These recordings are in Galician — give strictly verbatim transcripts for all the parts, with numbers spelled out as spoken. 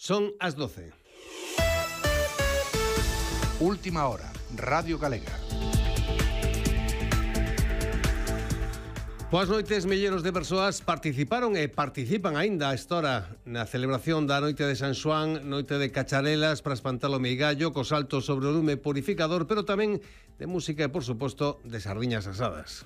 Son as doce. Última hora, Radio Galega. Boas noites, milleiros de persoas participaron e participan aínda a esta hora na celebración da noite de San Xoán, noite de cacharelas para espantar o meigallo, co salto sobre o lume purificador, pero tamén de música e, por suposto, de sardiñas asadas.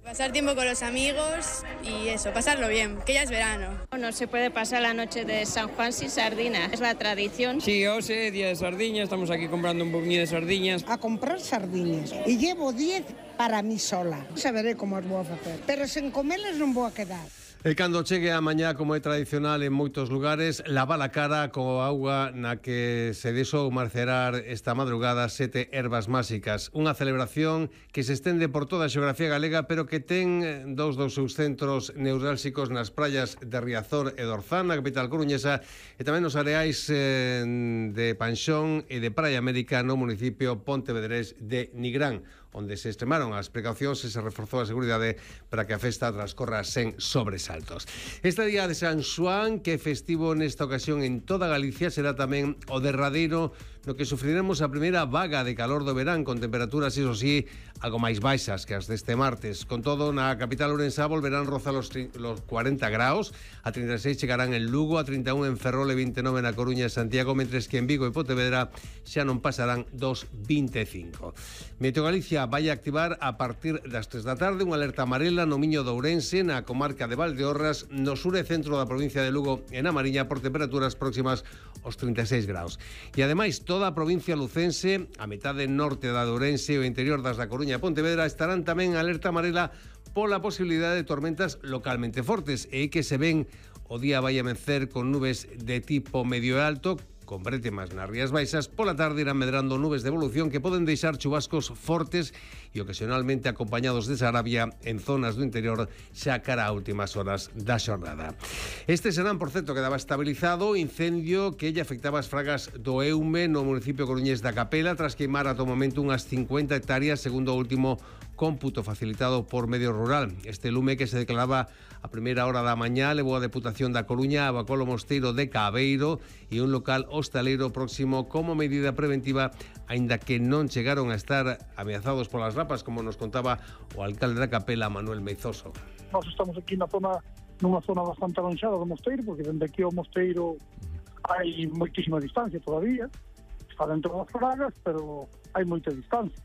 Pasar tiempo con los amigos y eso, pasarlo bien, que ya es verano. No se puede pasar la noche de San Juan sin sardinas, es la tradición. Sí, hoxe, día de sardiñas, estamos aquí comprando un poquinho de sardiñas. A comprar sardiñas e llevo diez para mí sola. Saberé como as vou a facer, pero sen comelas non vou a quedar. E cando chegue a mañá, como é tradicional en moitos lugares, lava a cara co auga na que se deixou marcerar esta madrugada sete ervas máxicas. Unha celebración que se estende por toda a xeografía galega, pero que ten dous dos seus centros neurálxicos nas praias de Riazor e de Orzán, na capital coruñesa, e tamén nos areais eh, de Panxón e de Praia América no municipio pontevedrés de Nigrán, onde se extremaron as precaucións e se reforzou a seguridade para que a festa transcorra sen sobresaltos. Este día de San Xoán, que é festivo nesta ocasión en toda Galicia, será tamén o derradeiro no que sufriremos a primeira vaga de calor do verán, con temperaturas, iso sí, algo máis baixas que as deste martes. Con todo, na capital ourensá volverán rozar os, los cuarenta graus, a trinta e seis chegarán en Lugo, a trinta e un en Ferrol e vinte e nove na Coruña e Santiago, mentres que en Vigo e Pontevedra xa non pasarán dos vinte e cinco. Meteo Galicia vai a activar a partir das tres da tarde unha alerta amarela no Miño de Ourense, na comarca de Valdeorras, no sur e centro da provincia de Lugo e na Mariña, por temperaturas próximas aos trinta e seis graus. E ademais, toda a provincia lucense, a metade norte da de Ourense e o interior das da Coruña e Pontevedra estarán tamén en alerta amarela pola posibilidade de tormentas localmente fortes, e que se ven o día vai a vencer con nubes de tipo medio e alto, con brétemas nas rías baixas. Pola tarde irán medrando nubes de evolución que poden deixar chubascos fortes e ocasionalmente acompañados de sarabia en zonas do interior xa cara a últimas horas da xornada. Este serán, por certo, quedaba estabilizado o incendio que lle afectaba as fragas do Eume no municipio coruñés da Capela, tras queimar ata o momento unhas cincuenta hectáreas, segundo o último cómputo facilitado por Medio Rural. Este lume, que se declaraba a primeira hora da mañá, levou a Deputación da Coruña a evacuar o mosteiro de Cabeiro e un local hostaleiro próximo como medida preventiva, aínda que non chegaron a estar ameazados polas rapas, como nos contaba o alcalde da Capela, Manuel Meizoso. Nós estamos aquí na zona, nunha zona bastante avanxada do mosteiro, porque dende aquí ao mosteiro hai moitísima distancia todavía, está dentro das fragas, pero hai moita distancia.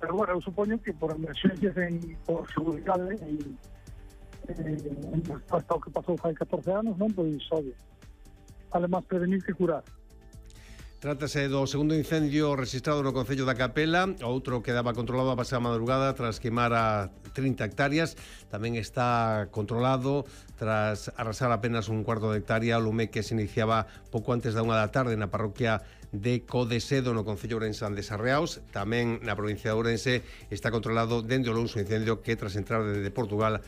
Pero bueno, eu supoño que por emergencias, en, por seguridade, en, en, en resposta ao que pasou hai catorce anos, non, pois, obvio, vale máis prevenir que curar. Trátase do segundo incendio registrado no concello da Capela, outro que daba controlado a pasada madrugada tras queimar a trinta hectáreas. Tamén está controlado tras arrasar apenas un cuarto de hectárea o lume que se iniciaba pouco antes da unha da tarde na parroquia de Codesedo, no concello ourensán de Sarreaos. Tamén na provincia de Ourense está controlado dende o luns o incendio que, tras entrar desde Portugal,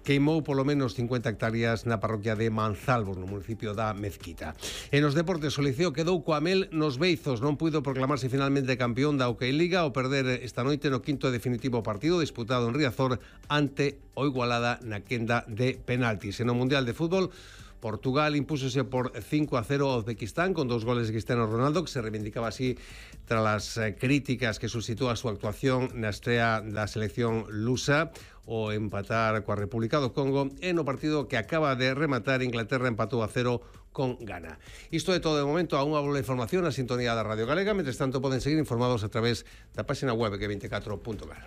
queimou polo menos cincuenta hectáreas na parroquia de Manzalbos, no municipio da Mezquita. E nos deportes, o Liceo quedou coa mel nos beizos, non puido proclamarse finalmente campeón da Hockey Liga ao perder esta noite no quinto e definitivo partido disputado en Riazor ante o Igualada na quenda de penaltis. E no Mundial de Fútbol, Portugal impúsose por cinco a cero a Uzbekistán con dos goles de Cristiano Ronaldo, que se reivindicaba así tras as críticas que suscitó a súa actuación na estrea da selección lusa, o empatar coa República do Congo, e no partido que acaba de rematar, Inglaterra empatou a cero con Ghana. Isto é todo de momento. A unha boa información na sintonía da Radio Galega. Mentres tanto, poden seguir informados a través da página web que veinticuatro punto gal.